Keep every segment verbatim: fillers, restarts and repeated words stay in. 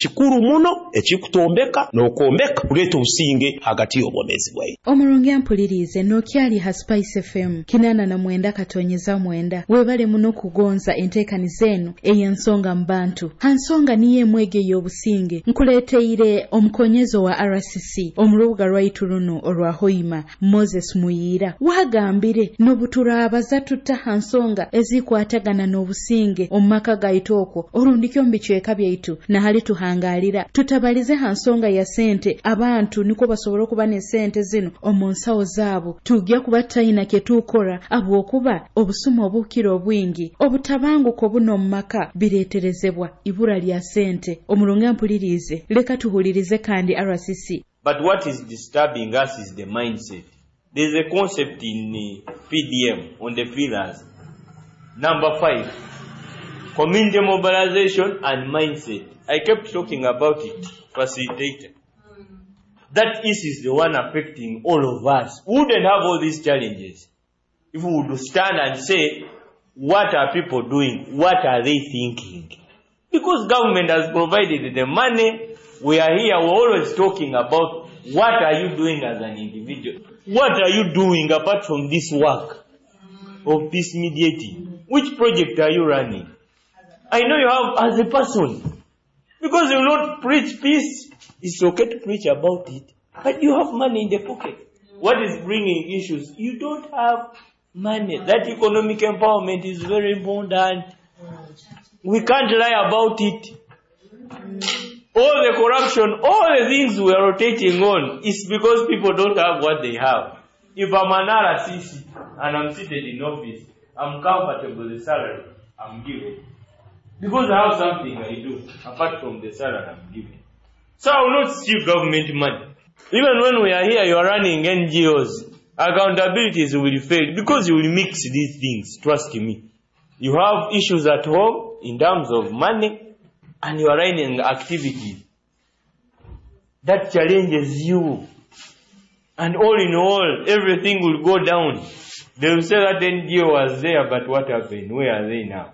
Kikuru muno ekikutombeka n'okwombeka kuleeta obusinge hagati y'obwomeezi bwaitu. Omurungi ampuliriize, nookyali ha Spice F M kinaana na mwenda katonyeza mwenda. Webale muno kugonza enteekaniza enu ey'Ensonga mu Bantu. Ha nsonga niyo emwege ey'obusinge, nkuleeteire omukonyezo wa R C C omu rubuga rwaitu runo orwa Hoima, Moses Muyiira. Wagambire n'obu turabaza tuta ha nsonga ezikwatagana n'obusinge omu maka gaitu okwo, orundikyo omu bicweka byaitu nahali tuhangalira, tutabalize ha nsonga ya sente, abantu nikwo basobora okuba n'esente zinu omu nsawo zaabo, tujja kuba tutayina kyetukora, habwokuba obusuma obukira obwingi, obutabanguko buno omu maka bireeterezebwa ibura lya sente. Omurungi ampuliriize, leka tuhulirize kandi R C C. But what is disturbing us is the mindset. There's a concept in uh, P D M on the pillars. Number five, community mobilization and mindset. I kept talking about it, facilitator. That issue is the one affecting all of us. We wouldn't have all these challenges if we would stand and say, "What are people doing? What are they thinking?" Because government has provided the money, we are here, we're always talking about what are you doing as an individual? What are you doing apart from this work of peace mediating? Which project are you running? I know you have as a person. Because you will not preach peace. It's okay to preach about it. But you have money in the pocket. What is bringing issues? You don't have money. That economic empowerment is very important. We can't lie about it. All the corruption, all the things we are rotating on is because people don't have what they have. If I'm an R C C and I'm seated in office, I'm comfortable with the salary I'm given. Because I have something I do apart from the salary I'm given. So I will not steal government money. Even when we are here, you are running N G Os. Accountabilities will fail because you will mix these things. Trust me. You have issues at home in terms of money and you are running activities. That challenges you. And all in all, everything will go down. They will say that N G O was there, but what happened? Where are they now?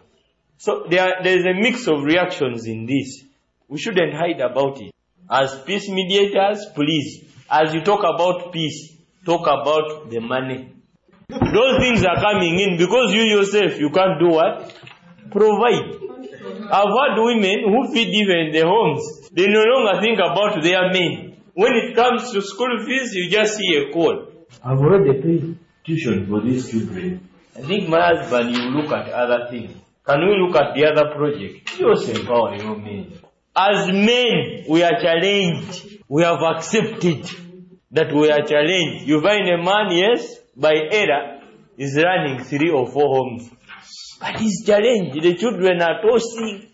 So there, there is a mix of reactions in this. We shouldn't hide about it. As peace mediators, please, as you talk about peace, talk about the money. Those things are coming in because you yourself, you can't do what? Provide. I've had women who feed even the homes. They no longer think about their men. When it comes to school fees, you just see a call. "I've already paid tuition for these children. I think my husband, you look at other things. Can we look at the other project?" You also empower your men. As men, we are challenged. We have accepted that we are challenged. You find a man, yes, by error, is running three or four homes. But he's challenged. The children are tossing.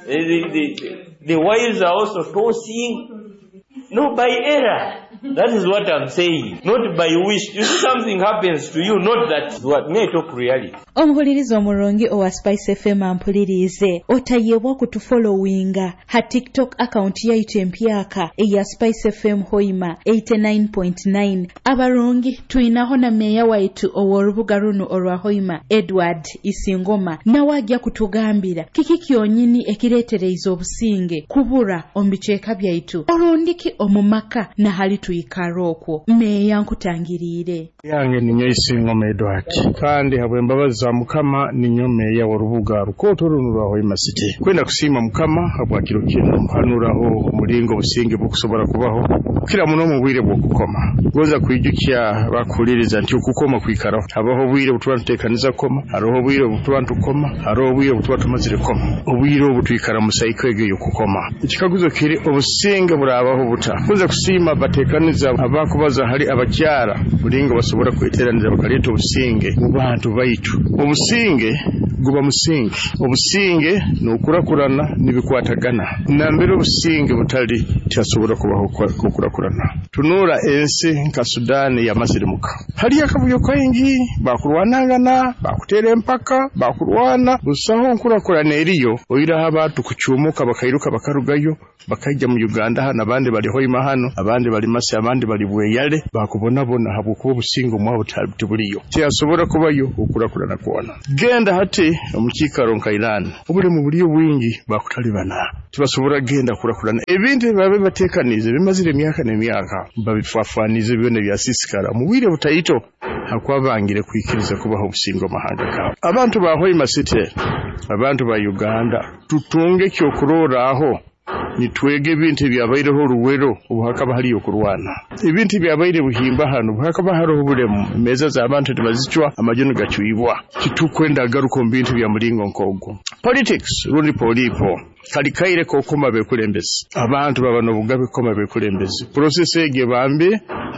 The, the, the, the wives are also tossing. No, by error. That is what I'm saying. Not by wish. You see, something happens to you, not that what may talk reality. Omuhuliriza omurungi owa Spice F M ampulirize, otayebwa kutufollowinga ha TikTok account yaitu empyaka eya Spice F M Hoima eighty-nine point nine. Abarungi, twinaho na meya waitu ow'orubuga runo orwa Hoima, Edward Isingoma, nawe ajja kutugambira kiki kyonyini ekireetereize obusinge kubura omu bicweka byaitu, orundiki omu maka nahali twikara okwo. Meeya, nkutangiriire. Yange ninyo Isingoma Edward, kandi habw'embabazi za Mukama ninyo meeya w'orubuga rukooto runo rwa Hoima City. Kwenda kusiima Mukama habwa kiro kino, hanuraho omulingo obusinge bukusobora kubaho kukira muno mu bwire bw'okukoma. Gonza kwijukya bakuhuliriza nti okukoma kwikaraho. Habaho obwire obutuba tuteekaniza kukoma, haroho obwire obutuba ntukoma, haroho obwire obutuba tumazire kukoma. Obwire obu twikara mu cycle egyo ey'okukoma. Ekikaguzo kiri, obusinge burabaho buta? Gonza kusiima bateekaniza abakubaza hali abakyara bulingo basobora kweteraniza bakaleeta obusinge mu bantu baitu. Obusinge guba musingi. Obusinge n'okurakurana nibikwatagana. Nambere obusinge butali, tihasobora kubaho okurakurana. Tunuura ensi nka Sudaani yamasirimuka, haliyo akavuyo kaingi, bakurwanangana, bakuteera empaka, bakurwana, busaho nkurakurana eriyo, oiraho abantu kucumuka bakairuka bakarugayo bakaija mu Uganda hano, abandi bali Hoima hano, abandi bali Masi, abandi bali Bweyale, bakubonabona habwokuba obusinge omwabo tibuliyo. Tihasobora kubayo okurakurana kwona. Genda hati. Omu kiikaro nka Iran, obulemu buli bwingi, bakutalibana, tibasobora kugenda kurakurana. Ebintu ebibabe bateekaniize bimazire emyaka n'emyaka, babifwafwanize byona byasiisikara mu bwire butaito, hakuba bangire kwikiriza kubaho obusinge omu mahanga gaabo. Abantu ba Hoima City, abantu ba Uganda, tutunge ekyokurorraho, nitwega ebintu ebyabaireho Ruwero obu hakaba hariyo okurwana, ebintu ebyabaire Buhimba hanu obu hakaba haroho obulemu, emeeza z'abantu tibazicwa, amaju nigacwibwa. Titukwenda agaruka omu bintu bya mulingo nk'ogwo. Politics rundi polipo kali kaire k'okukoma abekulembezi, abantu baba n'obugabe kukoma abekulembezi. Process egi ebambi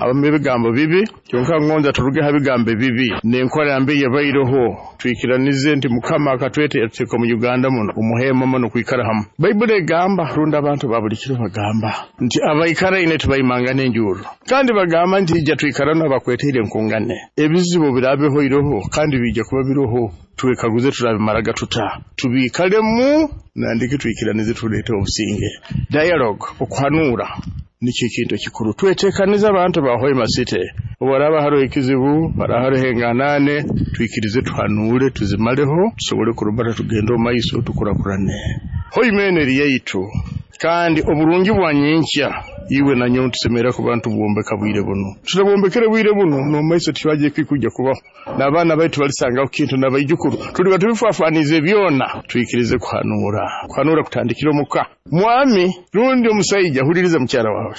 abamu ebigambo bibi, kyonka ngonza turuge ha bigambo ebibi n'enkora mbi yabaireho, twikiranize nti Mukama akatweta yatuteeka omu Uganda muno omuhema muno kwikara hamu. Baibuli egamba, rundi abantu ba buli kiro bagamba nti abaikaraine tibaimangana enjuro, kandi bagamba nti ija twikara n'abakweteire enkungane. Ebizibu birabeho iroho kandi bijja kuba biroho, twekaguze turabimaraga tuta, tubiikalemu nandiki twikiranize tuleete obusinge. Dialogue, okuhanuura nikyo ekintu ekikuru. Tweteekanize abantu ba Hoima City, obu haraba haroho ekizibu, haraba haroho enganane, twikirize tuhanuure tuzimaleho, tusobole kurubata tugende omu maiso tukurakurane. Hoima eno eri yaitu, kandi oburungi bwa nyenkya iwe na nyowe tusemera kuba ntubwombeka bwire buno. Tutabombekere bwire buno, n'omu maiso tibajja kujja kubaho, n'abaana baitu balisangaho kintu, n'abaijukuru tuliba tubifwafwanize byona. Twikirize kuhanuura. Kuhanuura kutandikira omuka. Mwami rundi omusaija, huliriza mukyara wawe,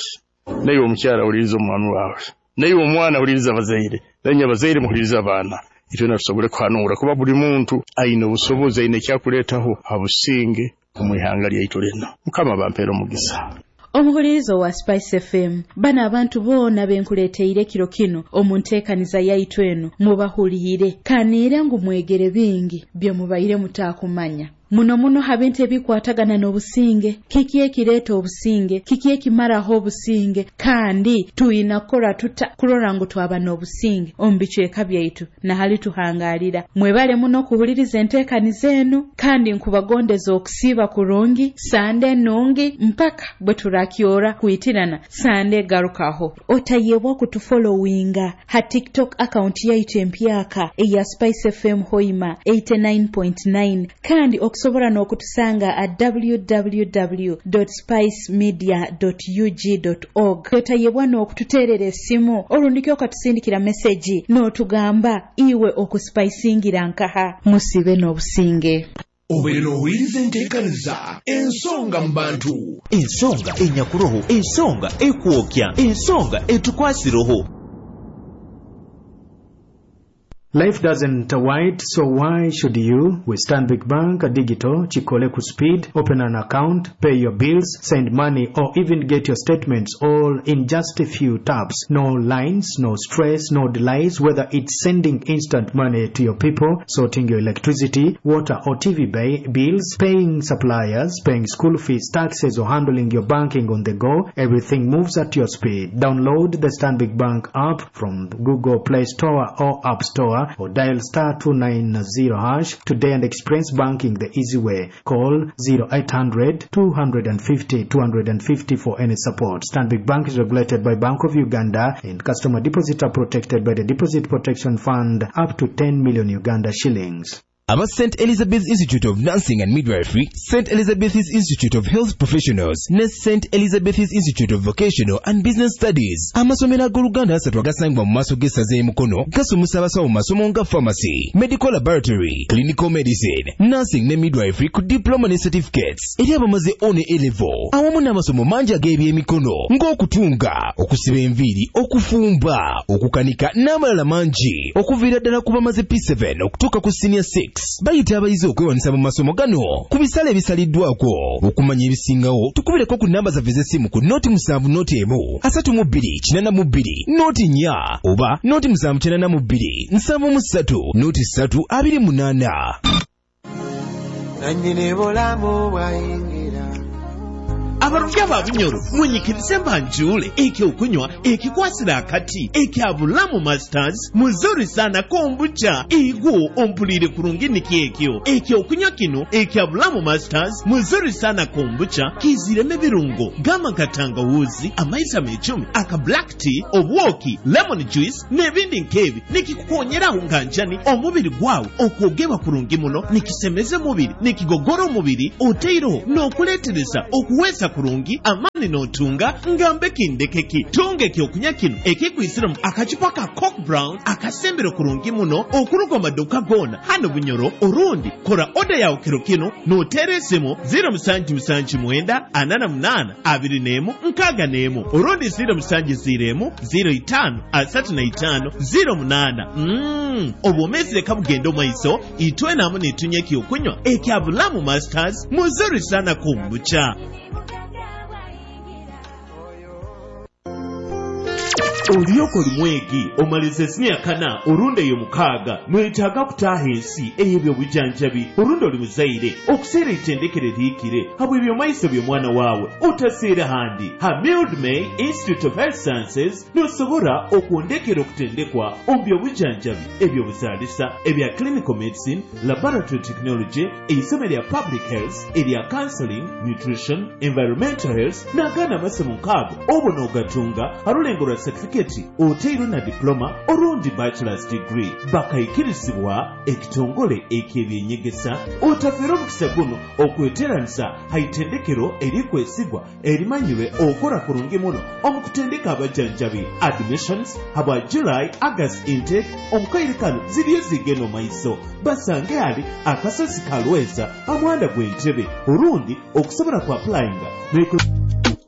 naiwe omukyara huliriza omwami wawe, naiwe omwana huliriza abazaire, naiwe abazaire muhuliriza abaana. Itwena tusobole kuhanuura, kuba buli muntu aine obusobozi, aine ekyakuleetaho ha businge omu ihanga lyaitu lino. Mukama bampeere omugisa. Omuhulirizo wa Spice F M, bano abantu boona benkuleeteire kiro kino omu nteekaniza yaitu eno mubahuliire, kaniire ngu mwegere bingi bye mubaire mutaakumanya. Muno muno ha bintu ebikwatagana n'obusinge, kiki ekireeta obusinge, kiki ekimaraho obusinge, kandi tuyina kukora tuta kurora ngu twaba n'obusinge omu bicweka byaitu nahali tuhangalira. Mwebale muno kuhuliriza enteekaniza eno, kandi nkubagondeza okusiiba kurungi, sande nungi, mpaka bwe turakyora kwitirana sande garukaho. Otayebwa kutufollowinga ha TikTok account yaitu empyaka eya Spice F M Hoima eighty-nine point nine, kandi okusobola n'okutusanga at w w w dot spice media dot u g dot org. Otayebwa n'okututeerera essimu olundiki okatusindikira meseji n'otugamba iwe okuspicingira nkaha. Musibe n'obusinge. Obeera n'owuliriza enteekaniza ensonga mu bantu, ensonga enyakuroho, ensonga ekwokya, ensonga etukwasiroho. Life doesn't wait, so why should you? With Stanbic Bank Digital, Chikole ku speed, open an account, pay your bills, send money, or even get your statements all in just a few taps. No lines, no stress, no delays, whether it's sending instant money to your people, sorting your electricity, water or T V bills, paying suppliers, paying school fees, taxes, or handling your banking on the go, everything moves at your speed. Download the Stanbic Bank app from Google Play Store or App Store, or dial star two nine zero hash today and experience banking the easy way. Call zero eight hundred two hundred fifty two hundred fifty for any support. Stanbic Bank is regulated by Bank of Uganda and customer deposits are protected by the Deposit Protection Fund up to ten million Uganda shillings. Aba Saint Elizabeth Institute of Nursing and Midwifery, Saint Elizabeth's Institute of Health Professionals ne Saint Elizabeth's Institute of Vocational and Business Studies. Amasomero ag'Oluganda asatu agasangibwa mu maaso g'essaza e Mukono gasomesa abasawo mu masomo nga pharmacy, medical laboratory, clinical medicine, nursing ne midwifery ku diploma ne certificates eri abamaze O ne A level, awamu n'amasomo mangi ag'ebyemikono ng'okutunga, okusiba enviiri, okufumba, okukanika n'amalala mangi, okuviira ddala ku bamaze P seven okutuuka ku senior six. Bayita abayizi okwewandiisa mu masomo gano ku bisale ebisaliddwako. Okumanya ebisingawo tukubireko ku namba zaffe ez'essimu ku noti musanvu noti emu asatu mu bbiri kinaana mu bbiri noti nnya oba noti musanvu kinaana mu bbiri nsanvu mu ssatu noti ssatu abiri munaana. Nannyini bulamu bwayingira Abarungi aba Bunyoro, munyikirize mbanjule ekyokunywa ekikwasira akati ekya Bulamu Masters muzuri sana kombucha. Igwo ompulire kurungi, nikyekyo ekyokunywa kino ekya Bulamu Masters muzuri sana kombucha kiziremu ebirungo gamba nka tangawuzi, amaizi amecumi, aka black tea, obwoki, lemon juice n'ebindi nkebi. Nikikukonyeraho nga njani omubiri gwawe okwogebwa kurungi muno, nikisemeza omubiri, nikigogora omubiri, oteireho n'okuletereza okuweesa kurungi amani n'otunga ngambe kindekeki. Tunga ekyokunywa kino ekikwisiremu akacupa ka Coke Brown akasembero kurungi muno okuruga mu maduuka goona hano Bunyoro, orundi kora oda yawe kiro kino n'oteera esimu ziro musanju musanju mwenda ana na munaana abiri n'emu nkaaga n'emu, orundi ziro musanju ziro emu ziro itaano asatu na itaano ziro munaana. Mm, obwomeezi leka bugenda omaiso, itwenamu nitunywa ekyokunywa ekya Bulamu Masters muzuri sana kombucha. Olyoka oli mwegi omaliza esinya kana orundi eyo mukaaga, noyetaaga kutaaha ensi ey'ebyobujanjabi, orundi oli muzaire okuseera eitendekero erihikire habw'ebyomaiso by'omwana waawe, otaseera handi. Ha Mildmay Institute of Health Sciences nosobora okwondekera okutendekwa omu byobujanjabi, ebyobuzaalisa, ebya clinical medicine, laboratory technology, eisomo erya public health, erya counseling, nutrition, environmental health n'agandi amasomo nkaago. Obwo n'ogatunga harulengo rwa certificate oteirwe na diploma orundi bachelor's degree, bakaikirizibwa ekitongole eky'ebyenyegesa. Otafeera omukisa guno okweteranisa haitendekero erikwesigwa erimanyirwe okora kurungi muno omu kutendeka abajanjabi. Admissions habwa July August intake omukaire kano ziriyo zigenda omaiso. Basange ali akasozi kalweza amuhanda gw'entebe, orundi okusobola ku applyinga.